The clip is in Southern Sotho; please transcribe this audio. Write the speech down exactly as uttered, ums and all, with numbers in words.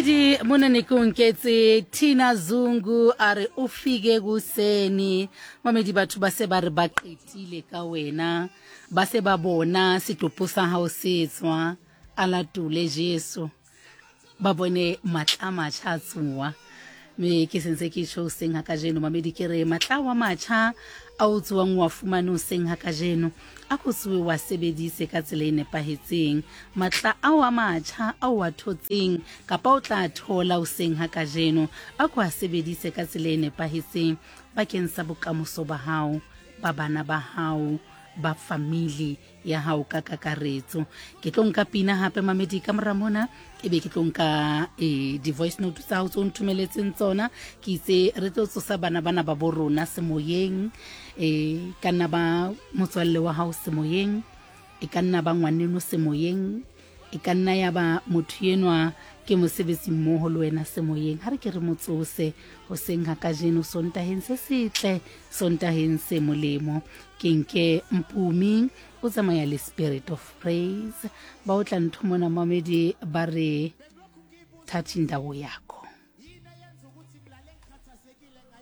Mamedi, mona ne ke o nketse Tina Zungu a re o fike kuseni. Mamedi, batho ba se ba re ba qetile ka wena, ba se ba bona setopo sa hao se tswa, a latole Jesu, ba bone matla a matjha a tsoa. Me ke sentse ke tjho hoseng ha kajeno, mamedi, ke re matla wa matjha a o tsoang wa fumane hoseng ha kajeno, a ko tsoe wa sebedise ka tsela e nepahetseng. Matla ao a matjha ao wa thotseng kapa o tla thola hoseng ha kajeno, a ko a sebedise ka tsela e nepahetseng bakeng sa bokamoso ba hao, ba bana ba hao, ba family ya hao ka kakaretso. Ke tlo nka pina hape, mamedi, ka mora mona, ebe ke tlo nka e, di-voice note tsa hao tse o nthomeletseng tsona. Ke itse re tlo tsosa bana bana ba bo rona semoyeng, e ka nna ba motswalle wa hao semoyeng, e ka nna ba ngwaneno semoyeng, e ka nna ya ba motho enwa ke mosebetsi mmoho le wena semoyeng. Ha re ke re mo tsose hoseng ha kajeno, Sontaheng se setle, Sontaheng se molemo. Ke nke Mpumi o tsamaya le Spirit of Praise, ba o tla ntho mona, mamedi, ba re thatha indawo yakho.